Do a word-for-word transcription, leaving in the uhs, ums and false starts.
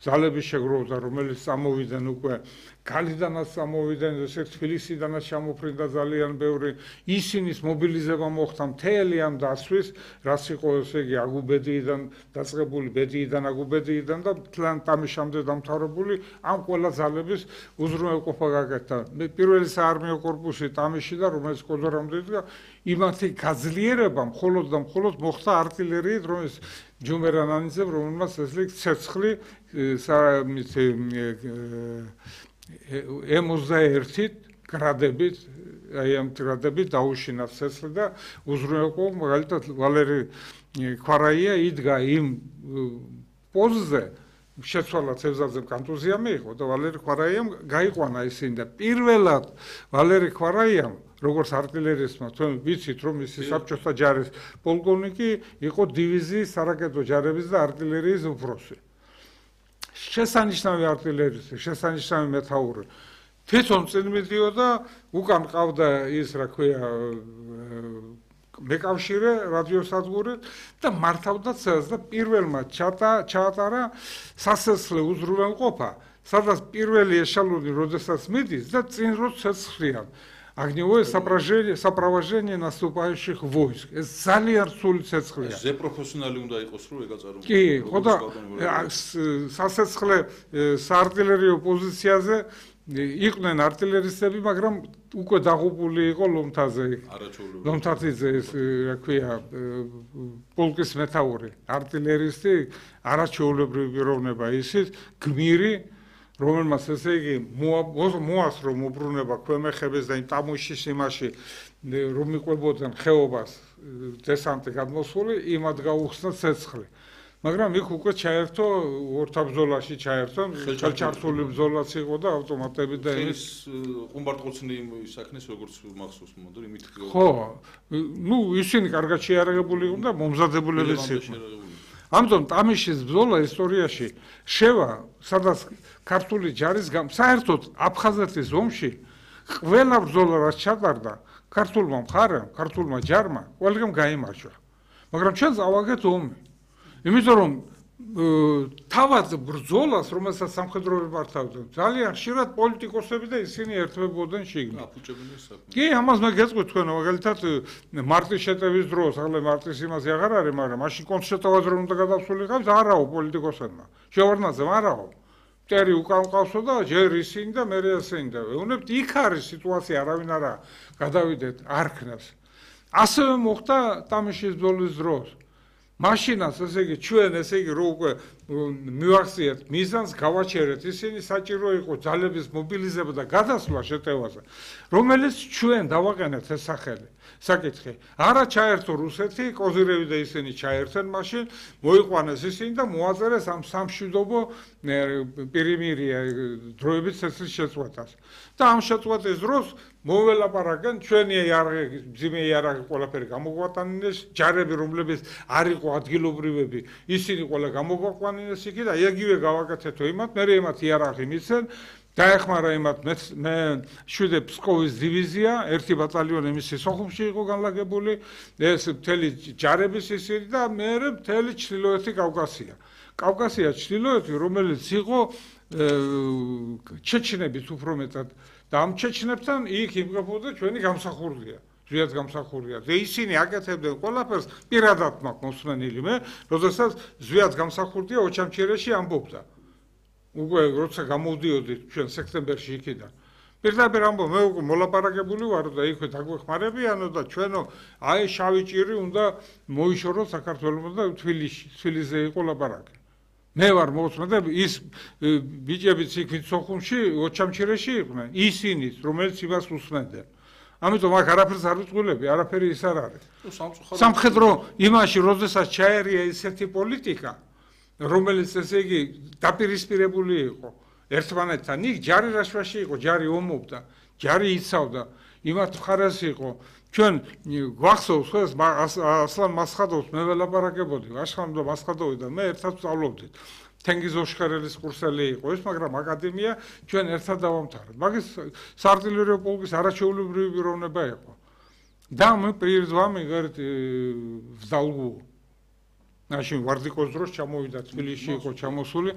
ძალების შეგროვდა, რომელიც წამოვიდნენ უკვე გალიდანაც წამოვიდნენ, ესე თბილისიდანაც ჩამოფრინდა ძალიან ბევრი. ისინის მობილიზება მოხდა მთელი ამ დასვის, რაც იყო ესე იგი აგუბედიიდან დაწყებული, ბედიიდან აგუბედიიდან და თლან ტამიშამდე დამთავრებული ამ ყველა ძალების უზრუნველყოფა გაკეთდა. პირველი საარმიო კორპუსი ტამიში და რომელიც კოდორამდე იდგა, იმათი გაძლიერება მხოლოდ და მხოლოდ მოხდა артиლერიით, რომელიც ჯუმერანანიძემ, რომელმაც ესე ცეცხლი ემოცდაერთით გრადებით, აი ამ გრადებით დაუშინა ცეცხლი და უზრუნველყო, მაგალითად ვალერი ქვარაია იდგა იმ პოზზე, შეცვალა ცევზაძემ კონტუზია მიიღო და ვალერი ქვარაიამ გაიყვანა ისინი და პირველად ვალერი ქვარაიამ როგორც артиლერისტმა, თქვენ ვიცით რომ ის საბჭოთა ჯარის პოლკოვნიკი იყო დივიზიის სარაკეტო ჯარების და артиლერიის უფროსი. შესანიშნავი артиლერისტი, შესანიშნავი მეთაური. თვითონ წინ მიდიოდა, უკან ყავდა ის, რა ქვია, მეკავშირე რადიოსადგური და მართავდა ცელს და პირველმა ჩაატარა სასესლე უზრუნველყოფა, სადაც პირველი ეშელონი როდესაც მიდის და წინ რო ცეცხლიან. Огневое сопровождение наступающих войск. ეს ძალიან სული ცეცხლია. ზე პროფესიონალი უნდა იყოს რომ ეგაწარო. კი, ხო და სასეცხლე საარტილერიო პოზიციაზე იყვნენ артиლერისტები, მაგრამ უკვე დაღუპული იყო ლომთაზე. ლომთათიძე ეს, რა ქვია, პოლკის მეთაური, артиლერისტი, არაჩვეულებრივი პიროვნება ისიც, გმირი, რომელმაც ესე იგი მოასრო მოbrunება ქვემეხების და იმ ტამუშის იმაში რომ მიყვებოდნენ ხეობას დესანტი გადმოსული, იმად გაუხსნა ცეცხლი. მაგრამ იქ უკვე ჩაერთო ორთაბრძოლაში ჩაერთო, ხელჩართული ბრძოლაც იყო და ავტომატები და ის ყუმბარტყუცნი საქმეს როგორც მახსოვს მომდურ იმით ხო, ნუ ისინი კარგად შეარაღებული იყვნენ და მომზადებულებიც იყვნენ. ამიტომ ტამიშის ბრძოლა ისტორიაში შევა, სადაც ქართული ჯარის გამ საერთოდ აფხაზეთის ომში ყველა ბრძოლა რაც ჩატარდა ქართულმა მხარემ, ქართულმა ჯარმა ყველგან გაიმარჯვა. მაგრამ ჩვენ წავაგეთ ომი. იმიტომ რომ თავად ბრძოლას, რომელსაც სამხედროები მართავდნენ, ძალიან ხშირად პოლიტიკოსები და ისინი ერთვებოდნენ შიგნით. კი, ამას მე გეტყვით თქვენ, მაგალითად მარტის შეტევის დროს, ახლა მარტის იმაზე აღარ არის, მაგრამ მაშინ კონსტიტუციაზე რომ უნდა გადასულიყავთ, არაო პოლიტიკოსებმა. შევარდნაძემ არაო. მტერი უკან ყავსო და ჯერ ისინი და მერე ასენი და ვეუბნებთ, იქ არის სიტუაცია, არავინ არა გადავიდეთ არქნას. ასევე მოხდა ტამიშის ბრძოლის დროს. მაშინაც ესე იგი ჩვენ ესე იგი რო უკვე მივახციეთ მიზანს გავაჩერეთ ისინი საჭირო იყო ძალების მობილიზება და გადასვლა შეტევაზე რომელიც ჩვენ დავაყენეთ ეს სახელი საკითხი არა ჩაერთო რუსეთი კოზირევი და ისინი ჩაერთენ მაშინ მოიყვანეს ისინი და მოაწერეს ამ სამშვიდობო პირიმირია დროებით ცეცხლის შეწყვეტას და ამ შეწყვეტის დროს მოველაპარაკენ ჩვენი იარაღი ძიმე იარაღი ყველაფერი გამოგვატანინეს ჯარები რომლებიც არ იყო ადგილობრივები ისინი ყველა გამოგვაყვანინეს იქი და იგივე გავაკეთეთო იმათ მე იმათ იარაღი მიცენ დაეხმარა იმათ მე შვიდე ფსკოვის დივიზია ერთი ბატალიონი მისი სოხუმში იყო განლაგებული ეს მთელი ჯარების ისინი და მე მთელი ჩრდილოეთი კავკასია კავკასია ჩრდილოეთი რომელიც იყო ჩეჩნების უფრო მეტად და ამ ჩეჩნებთან იქ იმყოფოდა ჩვენი გამსახურდია ზვიად გამსახურდია და ისინი აკეთებდნენ ყველაფერს პირადად მაქვს მოსმენილი მე როდესაც ზვიად გამსახურდია ოჩამჩირეში ამბობდა უკვე როცა გამოვდიოდი ჩვენ სექტემბერში იქიდან პირდაპირ ამბობ მე უკვე მოლაპარაკებული ვარ და იქვე დაგვეხმარებიანო და ჩვენო აი შავი ჭირი უნდა მოიშოროთ საქართველოს და თბილისში თბილისზე იყო ლაპარაკი მე ვარ მოსმენ და ის ბიჭებიც იქ სოხუმში ოჩამჩირეში იყვნენ ისინიც რომელიც იმას უსმენდნენ ამიტომ აქ არაფერს არ ვიწყვილები არაფერი ის არ არის სამხედრო იმაში როდესაც ჩაერია ისეთი პოლიტიკა რომელიც ესე იგი დაპირისპირებული იყო ერთმანეთთან იქ ჯარი რაშვაში იყო ჯარი ომობდა ჯარი იცავდა იმათ მხარეს იყო ჩვენ გვახსოვს ეს ასლან მასხადოვს მე ველაპარაკებოდი აშხან და მასხადოვი და მე ერთად ვსწავლობდით თენგიზ ოშხერელის კურსელი იყო ეს მაგრამ აკადემია ჩვენ ერთად დავამთავრეთ მაგის საარტილერიო პოლკის არაჩვეულებრივი პიროვნება იყო და мы перед вами говорит в долгу нашим вардикოს დროს ჩამოვიდა თბილისში იყო ჩამოსული